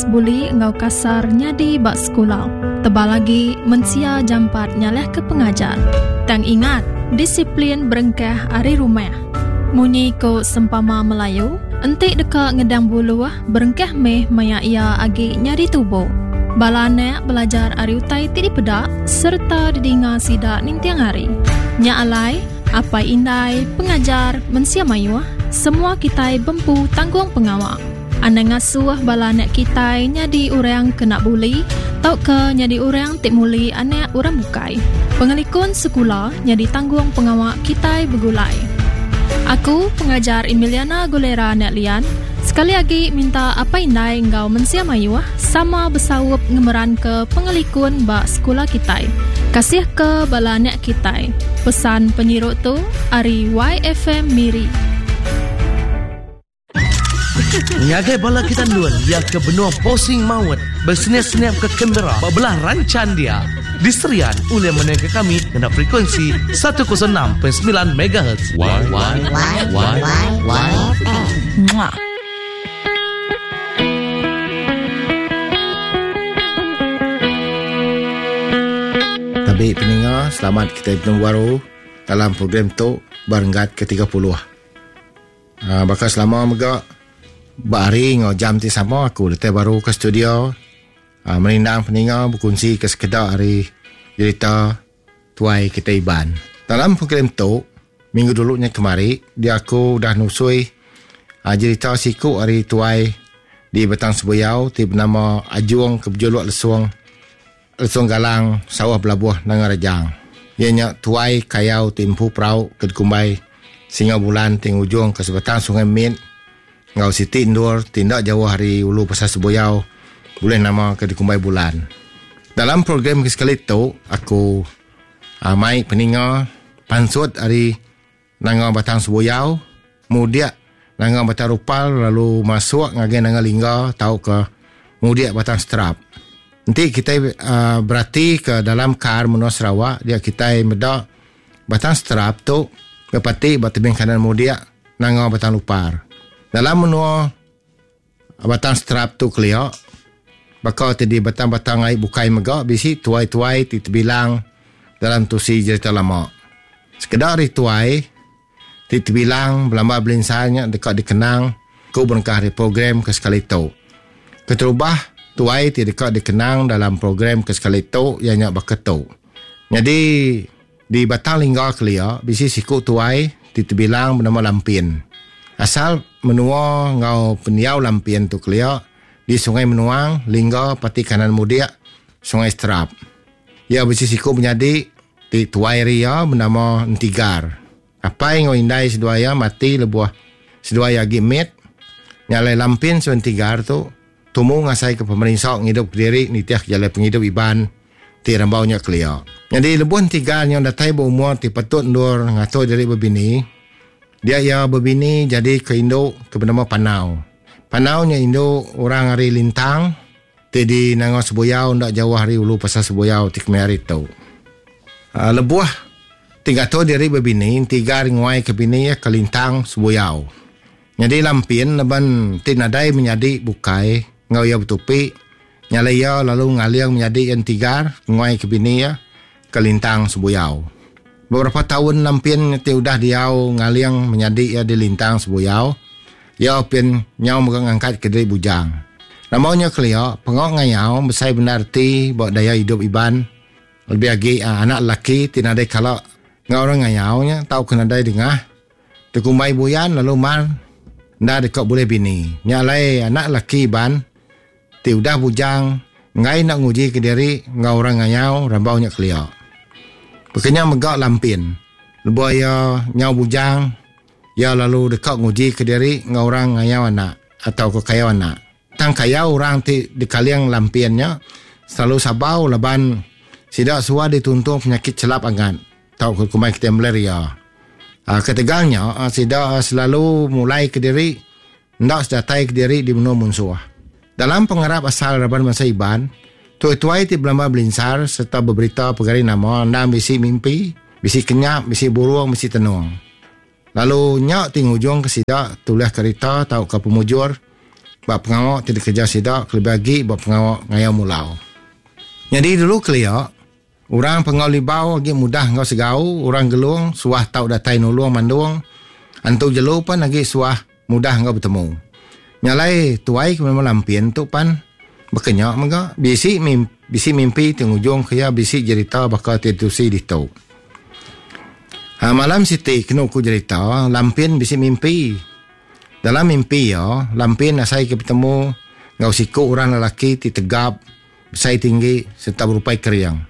Buli enggau kasar nyadi ba sekula. Tebal agi, mensia jampat nyalahka pengajar. Tang ingat, disiplin berengkah ari rumah. Munyi ku sempama Melayu, enti deka ngedang buluh, berengkah meh maya iya agi nyadi tubu. Bala anak belajar ari utai ti dipeda sereta didinga sida ninting hari. Nya alai, apai indai, pengajar, mensia mayuh, semua kitai bempu tanggung pengawa. Anang ngasuh bala anak kitai nyadi orang kena buli tauka nyadi orang ti muli anak orang bukai. Pengelikun sekula nyadi tanggung pengawa kitai begulai. Aku, Pengajar Emiliana Gulera Anak Lian, sekali agi minta apai indai enggau mensia mayuh sama besaup ngemeranka pengelikun ba sekula kitai. Kasihka bala anak kitai. Pesan penyiru tu ari YFM Miri. Ngagai bala kita endun iya ke benung posing maut beseniap-seniap ke kamera ba belah ranchan dia di Serian ulih menengka kami ngena frekuensi 106.9 megahertz. Y Y Y Y Mwah. Tabi peninga, selamat kitai betemu baru dalam program tu ba renggat ke 30. Aa baka selama mega ba hari enggau jam ti sama aku datai baru ke studio aa merindang peninga bekunsi ke sekeda ari jerita tuai kitai Iban. Dalam program tu minggu dulu nya kemari dia aku udah nusui aa jerita siku ari tuai di Batang Sebuyau ti benama Ajung ke bejuluk Lesung Lesung Galang Sauh Belabuh Nanga Rejang. Iya nya tuai kayau ti empu perau ke dikumbai Singa Bulan ti ngujungka sebatang sungai mit enggau siti endur ti enda jauh ari ulu Pasar Sebuyau bulih nama ke dikumbai Bulan. Dalam program ke sekali tu aku mai peninga pansut ari Nanga Batang Sebuyau, mudik Nanga Batang Rupal lalu masuk ngagai Nanga Lingga tauka mudik Batang Seterap. Enti kitai uhh beratika dalam kar menua Sarawak dia kitai meda Batang Seterap tu bepati ba tebing kanan mudik Nanga Batang Lupar. Dalam menua Batang Seterap tu kelia baka ti di batang-batang ai bukai mega bisi tuai-tuai ti tebilang dalam tusi jerita lama. Sekeda ari tuai ti tebilang belamba belinsar nya deka dikenang ku berengkah ari program ke sekali tu. Keterubah, tuai ti deka dikenang dalam program ke sekali tu iya nya baka tu. Nyadi di Batang Lingga kelia bisi siku tuai ti tebilang benama Lampin. Asal menua enggau pendiau Lampin tu kelia di Sungai Menuang, Lingga, Pati Kanan Mudik, Sungai Seterap. Iya bisi siku menyadi ti tuai ari iya benama Entigar. Apai enggau indai seduai iya mati lebuh seduai iya agi mit. Nya alai Lampin seduai Entigar tu tumu ngasaika pemerinsa ngidup kediri nitihka jalai pengidup Iban ti rambau nya kelia. Nyadi lebuh Entigar nyau datai ba umur ti patut endur ngatur diri bebini, dia iya bebini jadi ke indu ke benama Panau. Panau nya indu orang ari Lintang ti di Nanga Sebuyau enda jauh ari ulu Pasar Sebuyau ti kemaya hari tu. Lebuh ti ngatur diri bebini, Entigar nguai ke bini iya ke Lintang Sebuyau. Nyadi Lampin laban ti nadai menyadi bukai enggau iya betupi, nya alai iya lalu ngaling menyadi iya Entigar nguai ke bini iya ke Lintang Sebuyau. Beberapa taun Lampin ti udah diau ngaling menyadi iya di Lintang Sebuyau, iya pin nyau mega ngangkat ke diri bujang. Rambau nya kelia, pengawa ngayau besai bendar reti ba daya idup Iban lebih agi anak lelaki ti nadai kala enggau orang ngayau nya tauka nadai dengah dikumbai buyan lalu mar enda deka bulih bini. Nya alai anak lelaki Iban ti udah bujang enggai enda nguji kediri enggau orang ngayau rambau nya kelia. Baka nya mega Lampin, lebuh iya nyau bujang, iya lalu deka nguji kediri enggau orang ngayau anak atauka kayau anak. Tang kayau orang ti dikaling Lampin nya selalu sabau laban sida suah dituntung penyakit chelap angat tauka kumbai kitai malaria. Ketegal nya sida selalu mulai kediri enda sedatai kediri di menua munsuh. Dalam pengarap asal raban bansa Iban, tuai-tuai ti belama belinsar sereta beberita pegari nama endang bisi mimpi, bisi kenyap, bisi burung, bisi tenung. Lalu nya ti ngujungka sida tulihka rita tauka pemujur. ba pengawa ti dikereja sida kelebih agi ba pengawa ngayau mulau. Nyadi dulu kelia, orang Panggau Libau agi mudah enggau segau, orang Gelong suah tau datai nulung mandung, antu jelu pan agi suah mudah enggau betemu. Nya alai tuai ke benama Lampin tu pan baka nya mega bisi bisi mimpi ti ngujungka iya bisi jerita baka ti ditusi ditu. Ha malam siti kenu ku jerita Lampin bisi mimpi. Dalam mimpi iya Lampin asai ke betemu enggau siku orang lelaki ti tegap, besai tinggi sereta berupai kering.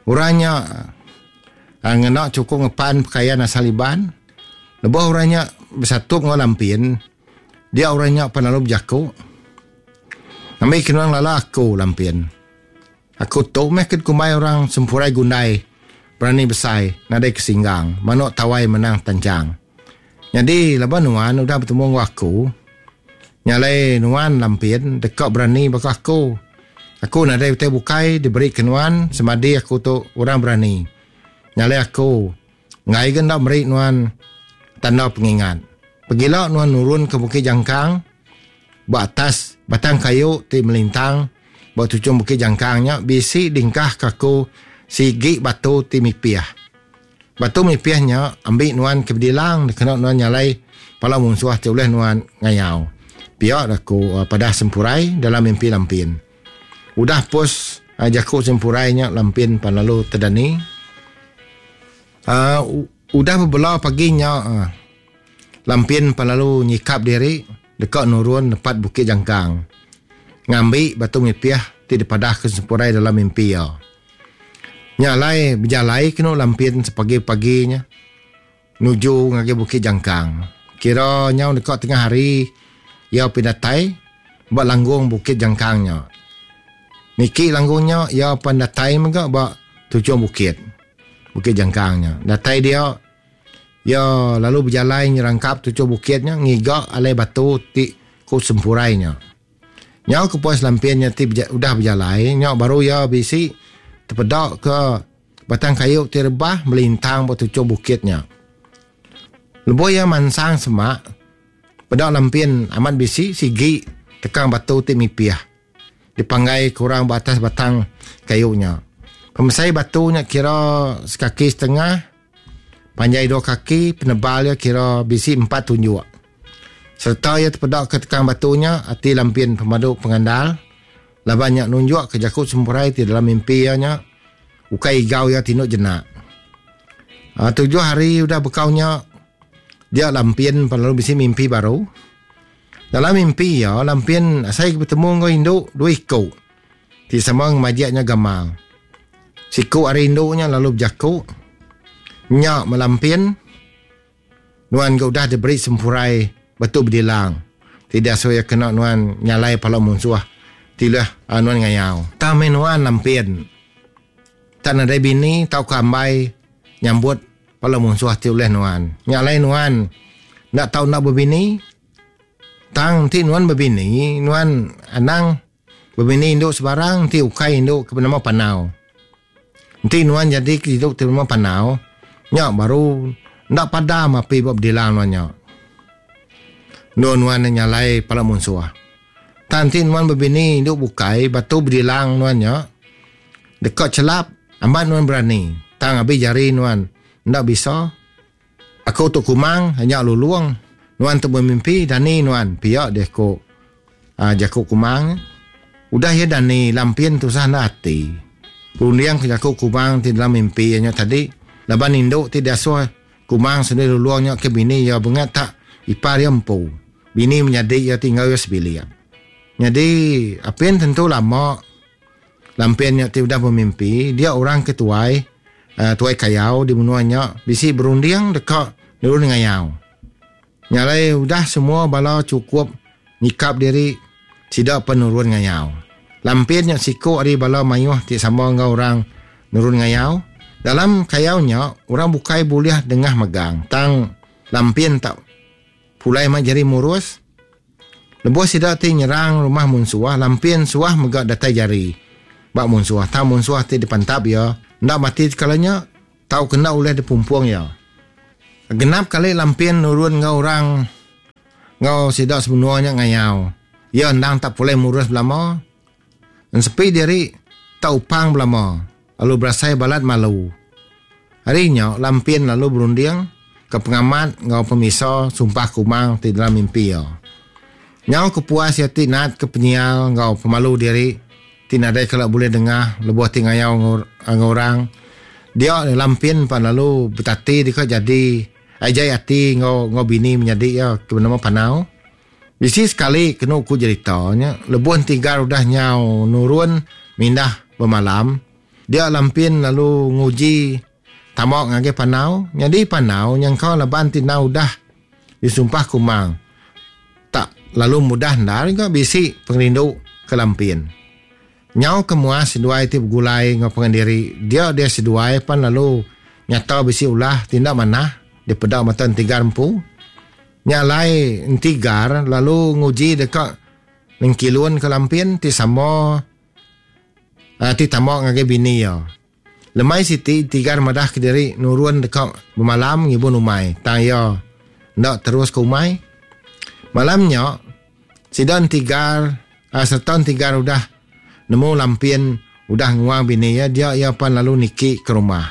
Orang nya ngena chukup ngepan pekayan asal Iban. Lebuh orang nya besatup enggau Lampin, dia orang nya pan lalu bejaku, Ngambi ke nuan ngelala aku, Lampin. Aku tu meh ke dikumbai orang Sempurai Gundai, berani besai, nadai kesinggang, manuk tawai menang tanchang. Nyadi laban nuan udah betemu enggau aku, nya alai nuan Lampin deka berani baka aku. Aku nadai utai bukai diberi ke nuan semadi aku tu orang berani. Nya alai aku Enggai ga enda meri nuan tanda pengingat. Pegila nuan nurun ke Bukit Jangkang ba atas batang kayu ti melintang ba tuchung Bukit Jangkang nya bisi dingkah ke aku sigi batu ti mipih. Batu mipih nya ambi nuan ke bedilang dikena nuan nyalai pala munsuh ti ulih nuan ngayau. Pia da ku padah Sempurai dalam mimpi Lampin. Udah pos jaku Sempurai nya Lampin pan lalu tedani. Uh, udah bebela pagi nya uh, Lampin pan lalu nyikap diri deka nurun nepat Bukit Jangkang ngambi batu mipih ti dipadahka Sempurai dalam mimpi iya. Nya alai bejalai kenu Lampin sepagi-pagi nya nuju ngagai Bukit Jangkang. Kira nyau deka tengah hari iya pinatai ba langgung Bukit Jangkang nya. Niki langgung nya iya pan datai mega ba tuchung bukit. Bukit Jangkang nya. Datai dia iya lalu bejalai nyerangkap tuchung bukit nya ngiga alai batu ti ku Sempurai nya. Nyau ke puas Lampin nya ti udah bejalai nya baru iya bisi tepeda ke Batang kayu ti rebah melintang ba tuchung bukit nya. Lebuh iya mansang semak, peda Lampin amat bisi sigi tekang batu ti mipih dipanggai ke orang ba atas batang kayu nya. Pemesai batu nya kira sekaki setengah, panjai dua kaki, penebal iya kira bisi empat tunjuk. Sereta iya tepeda ke tekang batu nya, ati Lampin pemadu pengandal laban nya nunjukka jaku Sempurai ti dalam mimpi iya nya ukai igau iya tinduk jenak. Aa tujuh hari udah bekau nya, dia Lampin pan lalu bisi mimpi baru. Dalam mimpi iya, Lampin asai ke betemu enggau indu dua iku ti sama ngemajik nya gamal. Siku ari indu nya lalu bejaku, Nya meh Lampin. Nuan ga udah diberi sempurai batu bedilang ti diasuh iya kena nuan nyalai pala munsuh ti ulih nuan ngayau. Tang meh nuan lampin tak nadai bini tauka ambai nyambut pala munsuh ti ulih nuan. Nya alai nuan enda tau enda bebini. Tang enti nuan bebini nuan anang bebini indu sebarang enti ukai indu ke benama Panau. Enti nuan jadi ke indu ti benama Panau, nya baru enda padam api ba bedilang nuan nya. Endur nuan nyalai pala munsuh. Tang enti nuan bebini indu bukai batu bedilang nuan nya deka chelap amat nuan berani tang abi jari nuan enda bisa. Aku tu Kumang nya Lulung. Nuan tu bemimpi dani nuan pia deh ku jaku Kumang. Udah iya dani Lampin tusah enda ati. Runding ke jaku Kumang ti dalam mimpi iya nya tadi laban indu ti diasuh Kumang seduai Lulung nya ke bini iya bengat tak ipar iya empu. Bini menyadi iya ti enggau iya sebilik. Nyadi apin tentu lama Lampin nya ti udah bemimpi dia orang ke tuai tuai kayau di menua nya bisi berunding deka nurun ngayau. Nya alai udah semua bala chukup nyikap diri sida pen nurun ngayau. Lampin nya siku ari bala mayuh ti sama enggau orang nurun ngayau. Dalam kayau nya orang bukai bulih dengah megang tang Lampin tak pulai mai jari murus. Lebuh sida ti nyerang rumah munsuh, Lampin suah mega datai jari ba munsuh tang munsuh ti dipantap iya enda mati tekala nya tauka enda ulih dipumpung iya. Genap kali Lampin nurun enggau orang enggau sida semenua nya ngayau. Iya endang tak pulai murus belama. Ensepi diri tak upang belama lalu berasai balat malu. Ari nya Lampin lalu berunding ke pengamat enggau pemisa sumpah Kumang ti dalam mimpi iya. Nyau kepuas iya ti nat ke penyial enggau pemalu diri ti nadai kala bulih dengah lebuh ti ngayau enggau orang dia Lampin pan lalu betati deka jadi ai jai ati enggau enggau bini menyadi iya ke benama Panau. Bisi sekali kenu ku jerita nya lebuh Entigar udah nyau nurun mindah bemalam dia Lampin lalu nguji tama ngagai Panau nyadi Panau nyangka laban ti endang udah disumpah Kumang tak lalu mudah endar ga bisi pengerindu ke Lampin. Nyau ke muas seduai ti begulai enggau pangan diri dia dia seduai pan lalu nyata bisi ulah ti enda manah dipeda mata Entigar empu. Nya alai enti Gar lalu nguji deka nengkilunka Lampin ti sama ti tama ngagai bini iya. Lemai siti enti Gar madah kediri nurun deka bemalam ngibun umai tang iya enda terus ke umai. Malam nya sida enti Gar sereta enti Gar udah nemu Lampin udah nguang bini iya dia iya pan lalu niki ke rumah.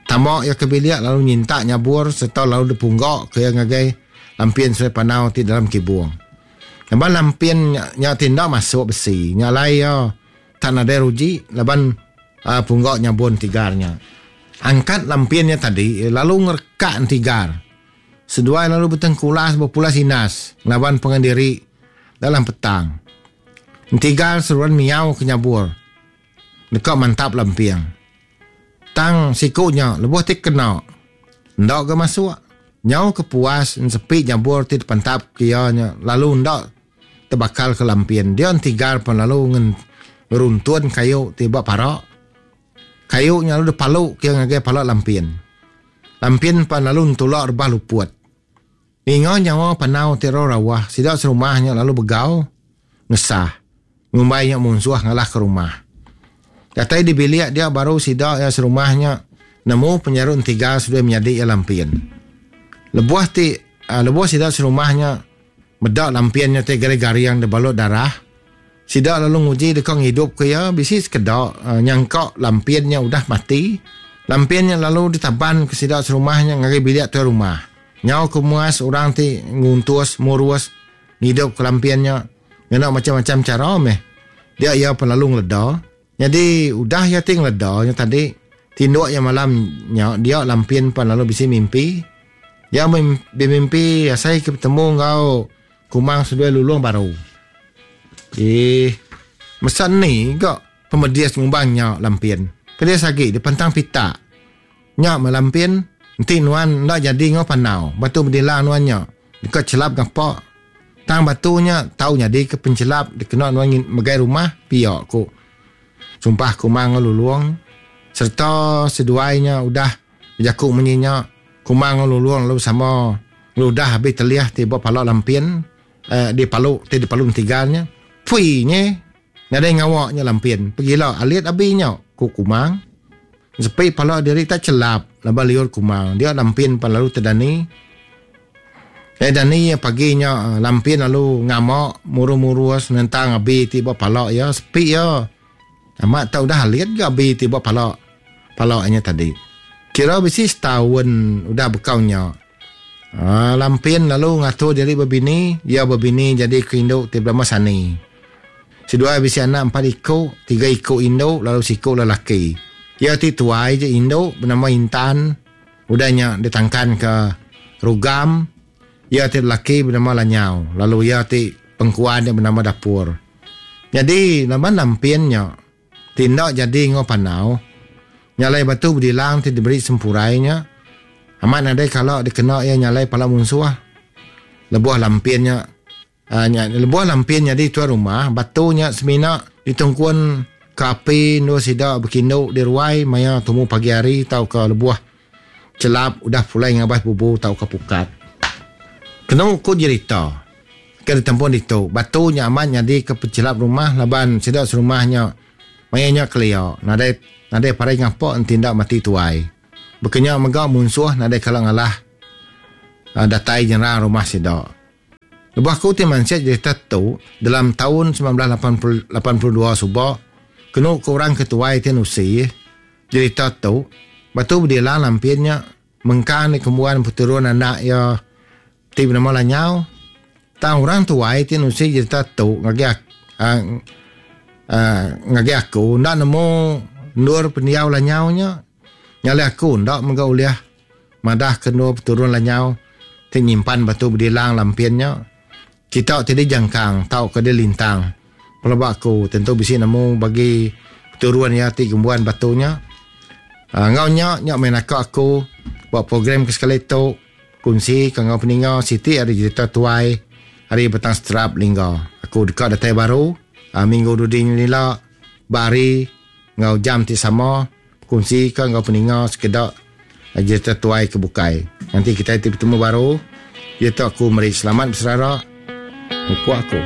Tama iya ke bilik lalu nyintak nyabur sereta lalu dipungga ke iya ngagai Lampin seduai Panau ti dalam kibung. Laban Lampin nya ti enda masuk besi nya alai iya tak nadai ruji laban pungga nyabur entigar nya. Angkat Lampin nya tadi lalu ngerekak entigar. Seduai lalu betengkulas bepulas inas ngelaban pangan diri dalam petang. Entigar seruan miau ke nyabur deka mantap lamping. Tang siku nya lebuh ti kena enda ga masuk. Nyau ke puas ensepi nyabur ti dipantap ke iya nya lalu enda tebakal ke lampin. Dia entigar pan lalu ngeruntun kayu ti ba para. Kayu nya lalu dipalu ke iya ngagai pala lampin. Lampin pan lalu entula rebah luput. Ninga nyawa panau ti rau rawah, sida serumah nya lalu begau ngesah, ngumbai nya munsuh ngalahka rumah. Datai di bilik dia baru sida iya serumah nya nemu penyaru entigal seduai menyadi iya Lampin. Lebuh ti lebuh sida serumah nya meda Lampin nya ti garing-garing dibalut darah, Sida lalu nguji deka ngidupka iya, bisi sekeda nyangka Lampin nya udah mati. Lampin nya lalu ditabanka sida serumah nya ngagai bilik tuai rumah. Nyau ke muas orang ti nguntus, murus, ngidupka Lampin nya ngena macham-macham chara meh. Dia iya pan lalu ngeleda. Nyadi udah iya ti ngeleda nya tadi, tinduk iya malam nya dia Lampin pan lalu bisi mimpi. Iya bemimpi asai ke betemu enggau Kumang seduai Lulong baru. Ih, mesan ni ga pemedis ngumbang nya Lampin. Pedis agi dipentang pitak. Nya meh Lampin, enti nuan enda jadi enggau Panau, batu bedilang nuan nya deka chelap ngapa. Tang batu nya tau nyadika penchelap dikena nuan megai rumah, pia ku sumpah Kumang enggau Lulong. Sereta seduai nya udah bejaku munyi nya, Kumang enggau Lulong lalu sama ngeludah abi telih ti ba pala Lampin di palu ti dipalu entigal nya. Pui nye nadai ngawa nya Lampin pegila alit abi nya, ku Kumang. Sepi pala diri tak chelap laban liur Kumang dia Lampin pan lalu tedani. Eh dani iya pagi nya Lampin lalu ngama murus-murus nentang abi ti ba pala iya sepi iya. Amat tak udah alit ga abi ti ba pala pala nya tadi. Kira bisi setaun udah bekau nya. Aaa Lampin lalu ngatur diri bebini, iya bebini jadi ke indu ti belama Sani. Seduai bisi anak empat iku, tiga iku indu lalu siku lelaki. Iya ti tuai je indu benama Intan, udah nya ditangkanka Rugam, iya ti lelaki benama Lanyau lalu iya ti pengkuan nya benama Dapur. Nyadi laban Lampin nya ti enda jadi enggau Panau, nyalai batu bedilang ti diberi Sempurai nya amat nadai kala dikena iya nyalai pala munsuh. Lebuh Lampin nya nya lebuh Lampin nyadi tuai rumah, batu nya semina ditungkun ke api endur sida bekindu di ruai maya tumu pagi hari tauka lebuh chelap udah pulai ngabas bubu tauka pukat. Kenu ku jerita ke ditempun ditu, batu nya amat nyadika pechelap rumah laban sida serumah nya maya nya kelia nadai nadai parai ngapa enti enda mati tuai. Baka nya mega munsuh nadai kala ngalah datai nyerang rumah sida. Lebuh aku ti mansik jerita tu dalam taun 1982 suba, kenu ke orang ke tuai ti nusi jerita tu, Batu Bedilang Lampin nya mengkang dikembuan peturun anak iya ti benama Lanyau. Tang orang tuai ti nusi jerita tu ngagai ngagai aku enda nemu endur pendiau Lanyau nya. Nya alai aku enda mega ulih Madah ke endur peturun lanyau ti nyimpan batu bedilang lampin nya, kita ti dijangkang tauka dilintang pelaba aku tentu bisi nemu bagi peturun iya ti gembuan batu nya. Enggau nya, nya meh naka aku ba program ke sekali tu kunsi ke enggau peninga siti ari jerita tuai ari Batang Seterap Lingga. Aku deka datai baru minggu dudi nyelila ba hari enggau jam ti sama. Bekunsi ka enggau peninga sekeda jerita tuai ke bukai. Nganti kitai ti betemu baru, diatu aku meri selamat beserara mupuk aku.